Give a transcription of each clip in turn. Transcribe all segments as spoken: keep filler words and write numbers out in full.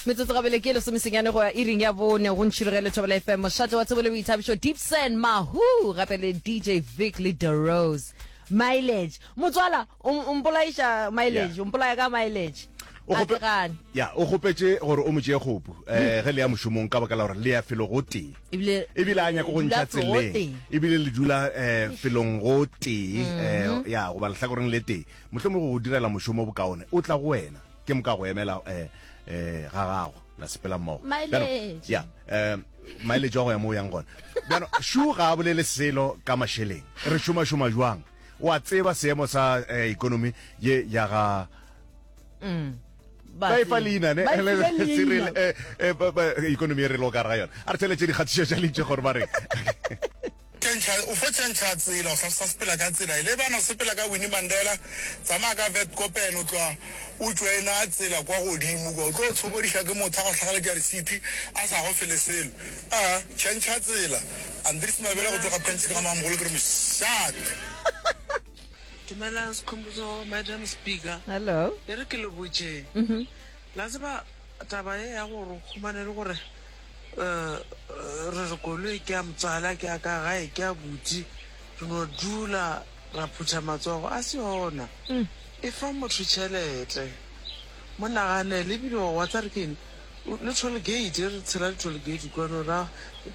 Metsotso gabele ke lesomesenyane go ya iring ya bone go ntšhirogele Thobela F M, mošate wa tsebo le boithabišo Deepsen Mahu gape le D J Vic le The Rose. Mileage motswala o mpolaiša mileage, o mpolaya ka mileage. O kgope, ya, o kgopetše gore o mo tšee kgopu um ge le ya mošomong ka baka la gore le ya felo go tee, ebile ebile a nyako go dula ntšha felo go tseleng, tee. ebile le dula um felong go tee, um ya goba lehlakoreng le tee, mohlomongwe go go direla mošomo bokaone o tla go wena ke moka go emela um um ga gago la sepela mmogo. Bjano, Mileage. ya, um mileage wa go ya mo o yang gona. Bjano šu ga a bolele selo ka mašeleng, re šomašoma jwang? O a tseba seemo sa eh, economy ye ya ga Mm. ba e fa leina ne Ba e file leina. Cyril, eh, eh, ba- ba- economy e re lo ka ga yona. A re theletše dikgatišo tša lentšu gore ba reng. Tšhentšha, o fo tšhentšha tsela, o sa sa sepela ka tsela e. Le bana o sepela ka Winnie Mandela, tsamaya ka Witkoppen, o tloga o joina tsela kwa godimo kwa, o tlo tshokodiša ke motho a go hlagaletša risiti a sa go fele selo. A, tšhentšha tsela. Andries Mabele go tloga Pensi ka Mamogolo ke re mošate. Dumelang Sekhumbuzo, Madam Speaker. Hello. E re ke le botšeng. La tseba taba ye ya gore o humane le gore eh, re re koloi ke ya motswala, ke ya ka gae, ke ya buti, re no dula ra phutha matsogo, a se yona. E fa motho tšhelete. Mo naganele ebile wa tsa re ke eng, le toll gate, re tshela le toll gate kwano ra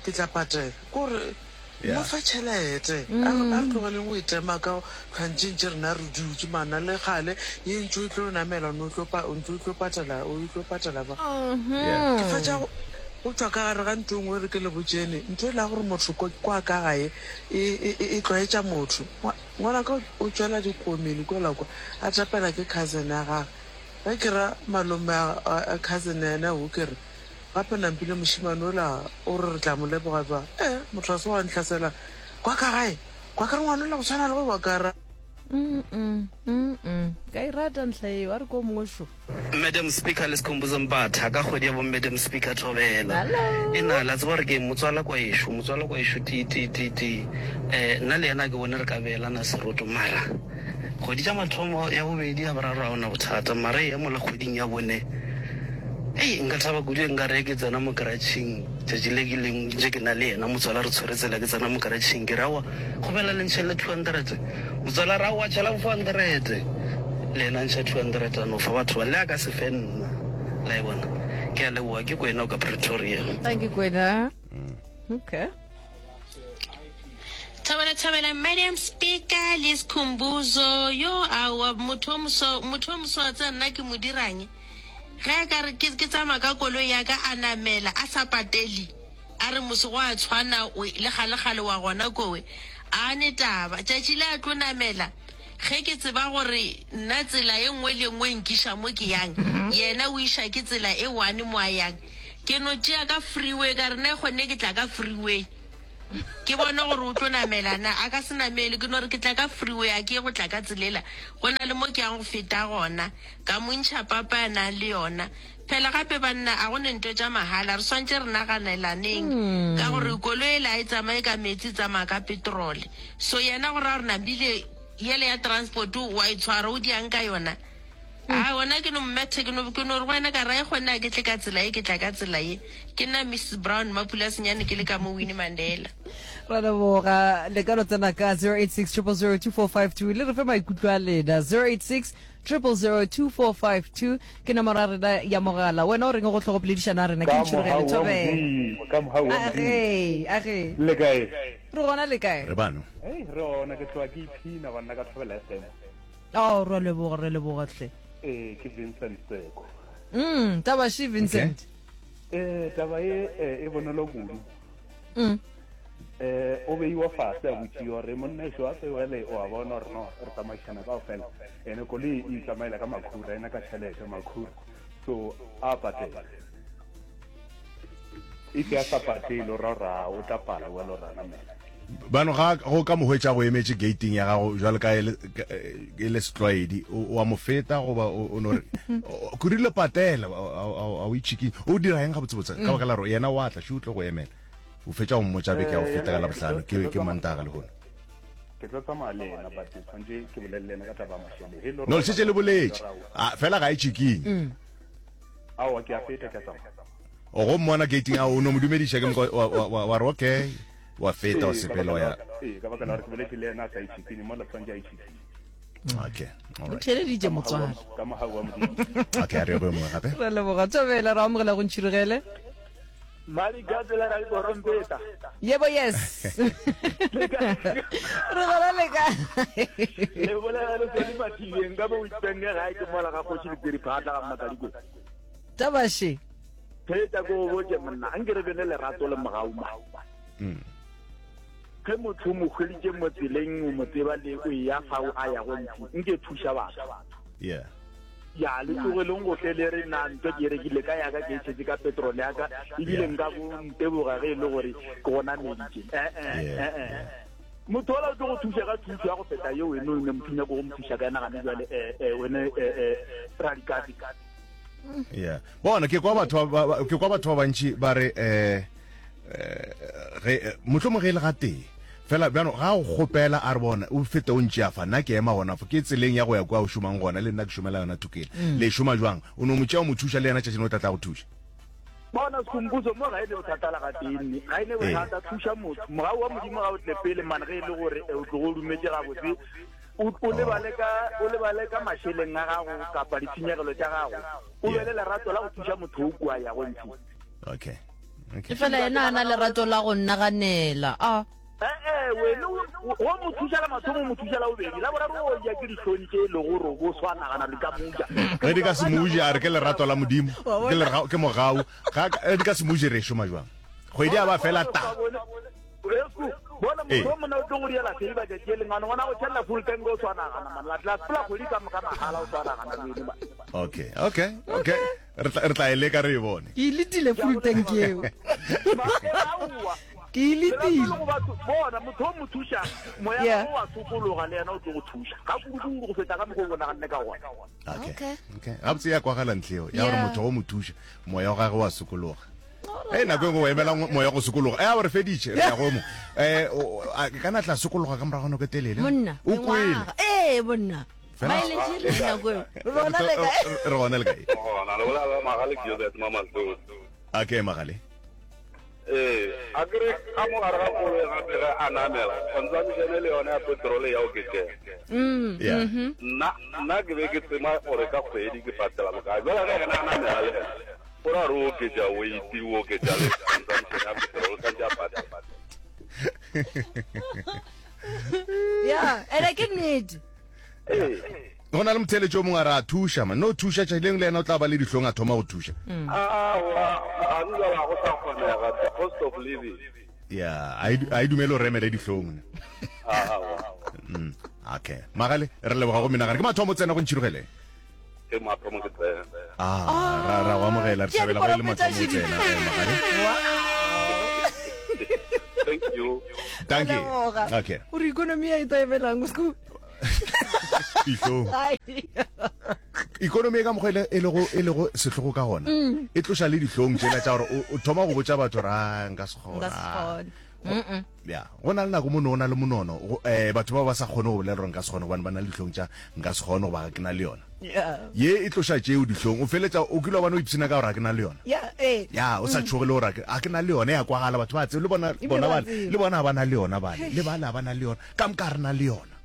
ke tla patela. Kore Yeah. mo fa tšhelete. A re a re tlogeleng go itema ka tlhwantšeng rena re dutše mana le gale ye ntse o tlo namela o tlo pa o ntse o tlo patela o tlo patela ba. Yeah. Ke fetša go go tšwa ka gare ga ntho e nngwe re ke le botšene, ntho e la gore motho ko kwa ka gae e e e tlwaetša motho. Ngwanaka o tšwela dikomeng kwela kwa a tapela ke cousin ya gagwe. Ge ke ra malome a cousin yena o ke re gape nampile mošemane ola o re re tla mo leboga jwang. Eh motho a se wa ntlhasela kwa ka gae, kwa ka re ngwana ola go tshwana le go wa ka ra. Mm mm mm mm. Ka e rata ntlha eo, a re ko mongwe šo. Madam Speaker le Sekhumbuzo Mbatha ka kgwedi ya bo Madam Speaker Thobela. Hello. E na la tseba gore ke motswala kwa ešo, motswala kwa ešo ti ti ti ti. Eh nna le yena ke bone re ka beelana seroto mara kgwedi tša mathomo ya bobedi ya boraro ga ona bothata mara e ya mola kgweding ya bone. Ei nka thaba kudu nka re ke tsena mo karatšheng tšatši le ke leng je ke na le yena motswala re tshwere tsela ke tsena mo karatšheng ke re aowa kgopela le ntšhele two hundred motswala re aowa tšhelang four hundred le yena ntšha two hundred a no fa batho ba le a ka se fe nna la e bona. Ke a leboga, ke Kwena o ka Pretoria. Thank you Kwena. Okay. Thobela thobela Madam Speaker le Sekhumbuzo yo aowa motho o moso motho o moso wa tseba nna ke mo dirang ge a ka re ke ke tsamaya ka koloi ya ka a namela a sa patele a re mose go a tshwana o le kgale-kgale wa gona kowe a ne taba tšatši le a tlo namela ge ke tseba gore nna tsela e nngwe le nngwe nkiša mo ke yang yena o iša ke tsela e one mo a yang ke no tšea ka freeway ka re nna kgonne ke tla ka freeway ke bone gore o tlo namela na a ka se namele ke no re ke tla ka freeway a ke ye go tla ka tselela go na le mo ke yang go feta gona ka mo ntšha papa ya nang le yona. Phela gape banna a go ne ntho tša mahala re swantše re naganelaneng ka gore koloi ela a e tsamaye ka metsi e tsamaya ka petrol so yena go ra gore nambile yele ya transport wa e tshwara o diang ka yona. A ona ke no mmethe ke no ke no re go wena ka ra e kgone a ke tle ka tsela ye ke tla ka tsela ye. Ke nna Missus Brown Mapula Senyane ke le ka mo Winnie Mandela. Ra leboga le ka no tsena ka zero eight six triple zero two four five two le re fe maikutlo a lena zero eight six triple zero two four five two ke nomoro ya rena ya mogala. Wena o reng go tlhogo poledišano ya rena ke Ka ntšhirogele mohau wa Thobela. Modimo, ka mohau wa A Modimo. ge, a ge. Le kae? Re gona le kae? Re bano. Hei, re gona ke tloga ke iphina banna ka Thobela F M. Oh, re leboga, re leboga hle. Eh, ke Vincent Seko. Mm, taba shi Vincent. Okay. Eh, taba e eh, e bonolo kudu. Mm. Eh, o beiwa fase a botšiwa gore monna ešo a tsewele o a bona gore no re tsamaišana kaofela ene koloi e itsamaela ka makhura ena ka tšhelete makhura so a patela if ya sa patele o ra ra o tla pala wena o ra namela. Bano ga go ka mo hwetša go emetše gating ya gago jwale ka e e le setlwaedi o a mo feta goba o no re ke rile patela a o itšhiking o dira eng gabotsebotse ka baka la gore yena wa tla še o tlo go emela o fetša go mmotša beke ya go feta ka Labohlano ke ke Mantaga lehono. Ke tlo tsamaya le yena but tshwanetse ke bolele le yena ka taba ya mašeleng. No le šetše le boletše fela ga e tšhikinye. Aowa, ke a feta, ke a tsamaya. O go mmona gating a o no mo dumediša ke moka wa- wa- wa wa re okay, wa feta wa Ee, ka sepela baka wa la ya. ee, ka baka la gore ke boletše le yena a sa itšhikinye mola tshwanetse a itšhikinye. Okay, O all right. theeleditše motswala. Ka mogau wa Modimo. Okay, a re ye go yo mongwe gape. Re leboga thobela, re amogela go ntšhirogele. Madi ka tsela ra dikorompeta. Yebo yes. Re gona le ka. Le bolela le tsone mathileng ka bo itsenge gae ke mola ga kgoši dipiri phatla ga mmakadikwe. Tabaše. Theetša ko go botše monna, anke re be le lerato le mogau ma. Mm. Ge motho o mo hweditše mo tseleng o mo tseba le o eya fao a yago ntši, nke thuša batho. Yeah. Ya le tlogeleng go tle le re na ntho ke e rekile ka yaka ke e tšhetše ka petrol ya ka ebile nka bo nteboga ge e le gore ke go nameditše. Eh eh Yeah, eh eh. Motho ola o tlo go thuša ka thušo ya go feta yeo wene o ne motho nyako go mo thuša ka yena gane jwale eh eh wene eh eh Radikati. Yeah. Bona ke kwa batho ba ba- ke kwa batho ba bantši ba re eh eh ge mohlomong ge e le ga tee fela bjano ga o kgopela a re bona o fete o ntšea fa nna ke ema gona fo ke tseleng ya go ya kwa o šomang gona le nna ke šomela yona thokela le šoma jwang o no mo tšea o mo thuša le yena tšatši o tla tla go thuša Bona Skhumbuzo mo ga e ne bothata la gatee nne ga e ne bothata thuša motho mogau wa Modimo ga o tle pele man ge e le gore eh, o tlogo o dumetse gabotse o o lebale ka o lebale ka mašeleng a gago kapa ditshenyegelo tša gago o be le lerato la go thuša motho o kua yago ntši okay okay Fela yena a na lerato la go nnaganela. A. Eh eh wene o o mo thuša la mathomo o mo thuša la bobedi la boraro o ja ke dihlong tše e lego gore o bo swa nagana di ka moja ge di ka se moje a re ke lerato la Modimo ke lerao ke mogau ga ge di ka se moje re šoma jwang kgwedi ya ba fela ta bona Ee. motho o monna o tlo go diela favor tšatši e lengane ngwana go tšhelela full tank o swa nagana man la tla sepela kgwedi ka moka mahala o swa nagana le wene man okay okay okay re tla re tla e leka re e bone Ke e letile full tank eo. Aowa. Ke e Lerato letile. le go batho bona motho o mo thuša moya Yeah. wa wa sokologa le yena o tlo go thuša ga kudukudu go feta ka mokgwa o bonaganne ka gona okay Okay. okay gabotse ya kwagala ntle eo ya gore Yeah. motho o mo thuša moya wa gagwe wa sokologa e nako e nngwe o emela moya go sokologa e a re feditše re ya go mo um ka na tla sokologa ka morago nako e telele Monna. o kwele mengwaga. Ee monna. Fela- Mileage e re nako eo. Re bona le kae? re gona le kae gona le bolela magale ke Joseph Mamahlodi okay magale ee a kere ka mo gare ga koloi gape ge a namela consumption le yone ya petrol ya oketšega Mm. Yeah. nna nna ke be ke tsema gore ka kgwedi ke patela bokae jale ge ena a namela le ena o ra re o oketša weight o oketša le consumption ya petrol tshwanetse a patela Yeah, ene ke nnete. ee go na le motheletši o mongwe a re a thuša man no thuša tšatši lengwe le yena o tla ba le dihlong a thoma go thuša aowa ga njala go sa kgonega the cost of living ya a e du- a e dumele o remele dihlong ne aowa Mm, okay magale re leboga go menagane ke mathomo tsena go ntšhirogele ke mathomo ke tsena ah ra ra go amogela re Tšea thabela go e le diporofeta mathomo o šedi. tsena eh, magale thank you thank you Leboga. okay Gore economy ya e taebelang o sku. dihlong Ai. ikonomi e ka mokgwa e le- e lego e lego sehlogo ka gona Mm. e tloša le dihlong tšela tša gore o o thoma go botša batho gore a nka se Nka se kgona kgone. Mm-mm. ya go na le nako mo ne o na le monono go- eh batho ba ba sa kgone go bolela gore nka se kgone gobane ba na le dihlong tša nka se kgone goba ga ke na le yona Yeah. ye e tloša tšeo dihlong o feletša o kile wa bane o ipshina ka gore ga ke na le yona Yeah, eh. ya o sa tšhoge le gore ga ke na le yona ya kwagala batho ba tsebe le bona Ebile bona ba bale tseba. le bona ga ba na le yona bale le bale ga ba na le yona ka moka re na le yona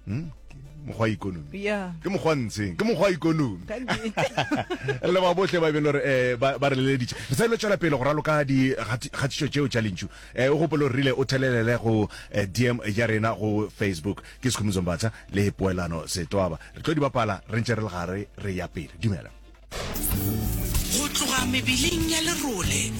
Hmm? Ke mokgwa wa ikonomi Yeah. ke mokgwa ntsheng ke mokgwa wa ikonomi Ka nnete. le ba bohle ba e beng le gore um ba ba re leleditše re sa ile tšwela pele go raloka dikgatišo tšeo tša lentšu um o gopole gore rile o thelelele go eh, dm ya rena go facebook ke Skhumbuzo Mbatha le poelano setwaba re tlo di bapala re ntše re le gare re ya pele dumela Go tloga mebeleng ya lerole